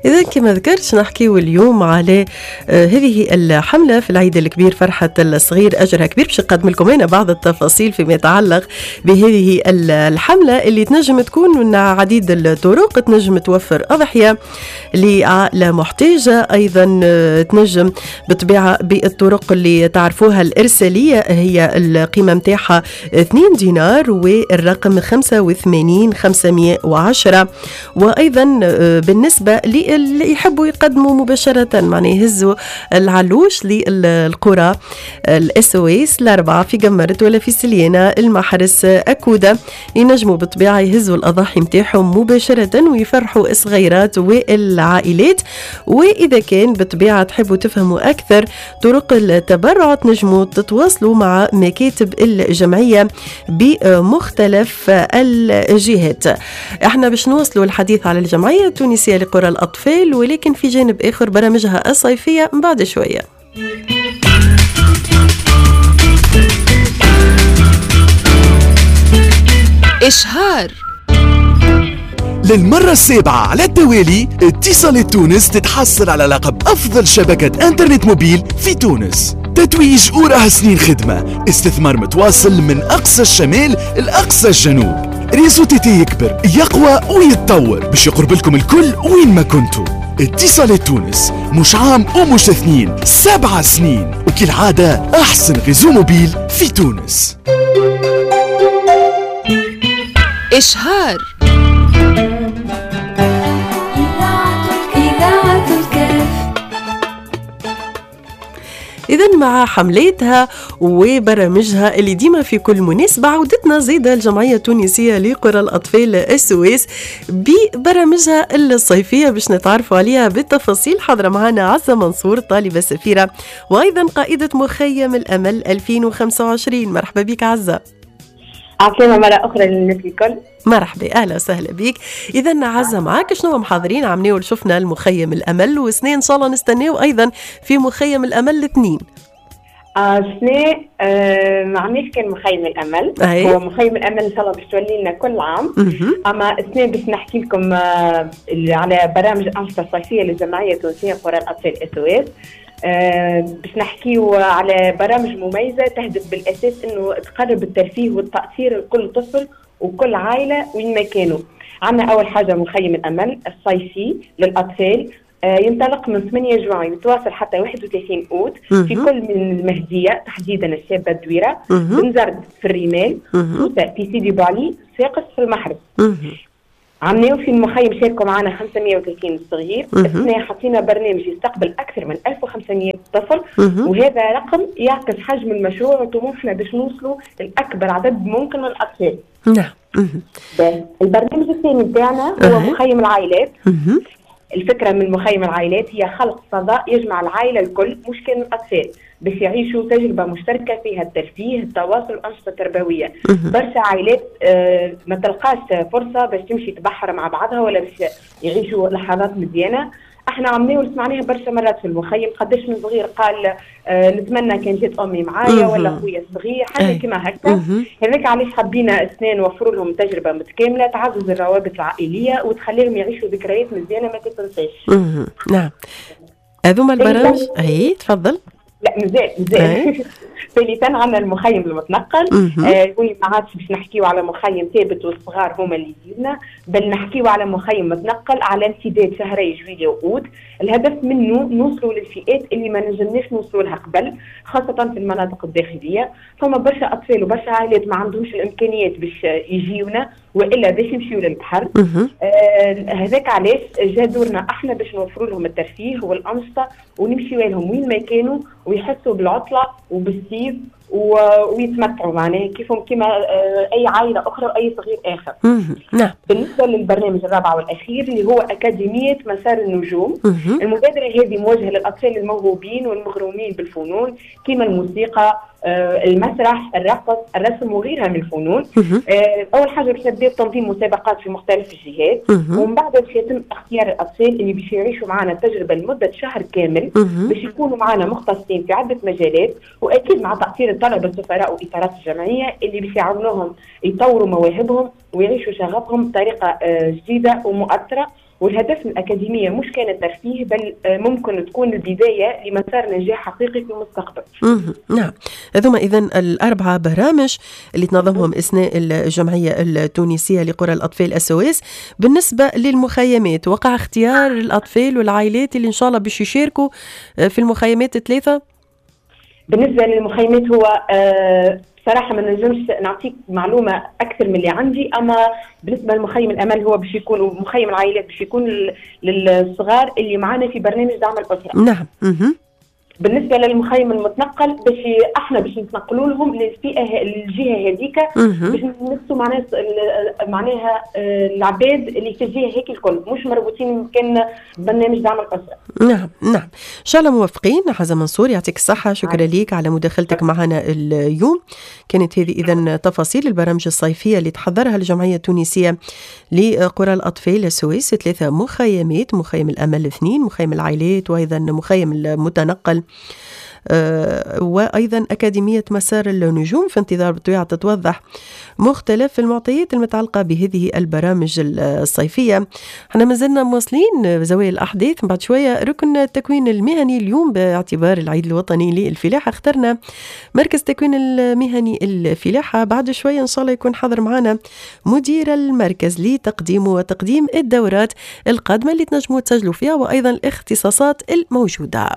إذا كما ذكرت نحكيو اليوم على هذه الحملة في العيد الكبير فرحة الصغير أجرها كبير، باش نقدم لكم هنا بعض التفاصيل فيما يتعلق بهذه الحملة اللي تنجم تكون من عديد الطرق، تنجم توفر أضحية لعائلة محتاجة، أيضا تنجم بالطبيعة بالطرق اللي تعرفوها الإرسالية، هي القيمة متاعها 2 دينار والرقم 85 510. وأيضا بالنسبة اللي يحبوا يقدموا مباشرة، معناها يهزوا العلوش للقرى ال SOS الأربعة في قمرت ولا في سليانة المحرس أكودة، ينجموا بالطبيعة يهزوا الأضاحي متاعهم مباشرة ويفرحوا الصغيرات والعائلات. وإذا كان بالطبيعة تحبوا تفهموا أكثر طرق التبرع تنجموا تتواصلوا مع مكاتب الجمعية بمختلف الجهات. احنا باش نواصلوا الحديث على الجمعية التونسية لقرى الأطفال، ولكن في جانب آخر برامجها الصيفية بعد شوية. إشهار. للمرة السابعة على التوالي اتصالات تونس تتحصل على لقب أفضل شبكة انترنت موبيل في تونس. تتويج وراها سنين خدمة، استثمار متواصل من أقصى الشمال لأقصى الجنوب. réseau TT يكبر يقوى ويتطور باش يقرب لكم الكل وين ما كنتوا. اتصالات تونس مش عام ومش 2، 7 سنين، وكالعادة أحسن réseau mobile في تونس. إشهار. إذن مع حملاتها وبرامجها اللي ديما في كل مناسبة، عودتنا زيادة الجمعية التونسية لقرى الأطفال SOS ببرامجها الصيفية باش نتعرفوا عليها بالتفاصيل. حاضرة معنا عزة منصور، طالبة سفيرة وأيضا قائدة مخيم الأمل 2025. مرحبا بك عزة. عسلامة مرة أخرى للناس الكل. مرحبا، أهلا وسهلا بك. إذا عزة معاك، شنو محاضرين عمناو شفنا المخيم الأمل، وسنة إن شاء الله نستناو أيضا في مخيم الأمل 2. سنة ما عملناش كان مخيم الأمل. أي. هو مخيم الأمل إن شاء الله باش تولي لنا كل عام. أما سنة باش نحكي لكم على برامج الأنشطة الصيفية للجمعية التونسية قرى الأطفال SOS. باش نحكيو على برامج مميزة تهدف بالأساس أنه تقرب الترفيه والتأثير لكل طفل وكل عائلة وين ما كانوا. عندنا أول حاجة مخيم الأمل الصيفي للأطفال، ينطلق من 8 جوان يتواصل حتى 31 أوت في كل من المهدية، تحديدا الشابة الدويرة، بنزرت في الرمال، سوسة في سيدي بوعلي، صفاقس في المحرس. عملناو في المخيم شاركوا معنا 530 صغير. السنة حطينا برنامج يستقبل أكثر من 1500 طفل، وهذا رقم يعكس حجم المشروع وطموحنا باش نوصلوا لأكبر عدد ممكن من الأطفال. نعم. البرنامج الثاني بتاعنا هو مخيم العائلات. الفكرة من مخيم العائلات هي خلق فضاء يجمع العائلة الكل، مش كان الأطفال، باش يعيشوا تجربة مشتركة فيها الترفيه، التواصل، والأنشطة التربوية. برشا عائلات ما تلقاش فرصة باش تمشي تبحر مع بعضها ولا باش يعيشوا لحظات مزيانة. احنا عملناه وسمعناها برشا مرات في المخيم، قداش من صغير قال نتمنى كان جات امي معايا ولا خويا الصغير، حاجة كما هكا. هذاك علاش حبينا السنة نوفروا لهم تجربه متكاملة تعزز الروابط العائلية وتخليهم يعيشوا ذكريات مزيانه ما تتنساش. نعم، هذوما البرامج. اي تفضل. لا مزال مزال. ثالثا عندنا المخيم المتنقل. وين ما عادش باش نحكيو على مخيم ثابت والصغار هما اللي يجيونا، بل نحكيو على مخيم متنقل على امتداد شهري جويلية وأوت. الهدف منه نوصلوا للفئات اللي ما نجمناش نوصلوا لها قبل، خاصة في المناطق الداخلية. فما برشا أطفال وبرشا عائلات ما عندهمش الإمكانيات باش يجيونا وإلا باش يمشيو للبحر. هذاك علاش جا دورنا احنا باش نوفروا لهم الترفيه والأنشطة ونمشيو لهم وين ما كانوا ويحسوا بالعطلة وبالصيف ويتمتعوا معناها كيفهم كما اي عائلة اخرى واي صغير اخر. نعم. بالنسبة للبرنامج الرابع والاخير اللي هو اكاديمية مسار النجوم. المبادرة هذه موجهة للاطفال الموهوبين والمغرومين بالفنون كما الموسيقى، المسرح، الرقص، الرسم وغيرها من الفنون. اول حاجة باش نبداو تنظيم مسابقات في مختلف الجهات، ومن بعد باش يتم اختيار الاطفال اللي باش يعيشوا معنا التجربة لمدة شهر كامل، باش يكونوا معنا مختصين في عده مجالات، واكيد مع تاثير الطلبة السفراء واطارات الجمعية اللي باش يعاونوهم يطوروا مواهبهم ويعيشوا شغفهم بطريقة جديدة ومؤثرة. والهدف من الأكاديمية مش كان الترفيه، بل ممكن تكون البداية لمسار نجاح حقيقي في المستقبل. نعم، هذوما إذن الأربعة برامج اللي تنظمهم إسناء الجمعية التونسية لقرى الأطفال SOS. بالنسبة للمخيمات، وقع اختيار الأطفال والعائلات اللي إن شاء الله باش يشاركوا في المخيمات الثلاثة؟ بالنسبة للمخيمات هو صراحة ما نجمش نعطيك معلومة أكثر من اللي عندي، أما بالنسبة لمخيم الأمل هو باش يكون، ومخيم العائلات باش يكون للصغار اللي معنا في برنامج دعم الأسرة. نعم. بالنسبة للمخيم المتنقل باش احنا باش نتنقلوا لهم للفئه الجهة هذيك، باش نمسوا معناها العباد اللي في الجهة هيك الكل، مش مربوطين كان برنامج دعم الاسرة. نعم نعم، ان شاء الله موفقين. حزه منصور يعطيك الصحة، شكرا لك على مداخلتك معنا اليوم. كانت هذه اذا تفاصيل البرامج الصيفية اللي تحضرها الجمعية التونسية لقرى الاطفال SOS، 3 مخيمات، مخيم الامل 2، مخيم العائلات، وايضا مخيم المتنقل، وأيضا أكاديمية مسار النجوم. في انتظار بالطبيعة تتوضح مختلف المعطيات المتعلقة بهذه البرامج الصيفية. احنا مازلنا مواصلين زوايا الأحداث، بعد شوية ركن التكوين المهني. اليوم باعتبار العيد الوطني للفلاحة اخترنا مركز التكوين المهني الفلاحة. بعد شوية إن شاء الله يكون حاضر معنا مدير المركز لتقديم وتقديم الدورات القادمة اللي تنجموا تسجلوا فيها، وأيضا الاختصاصات الموجودة.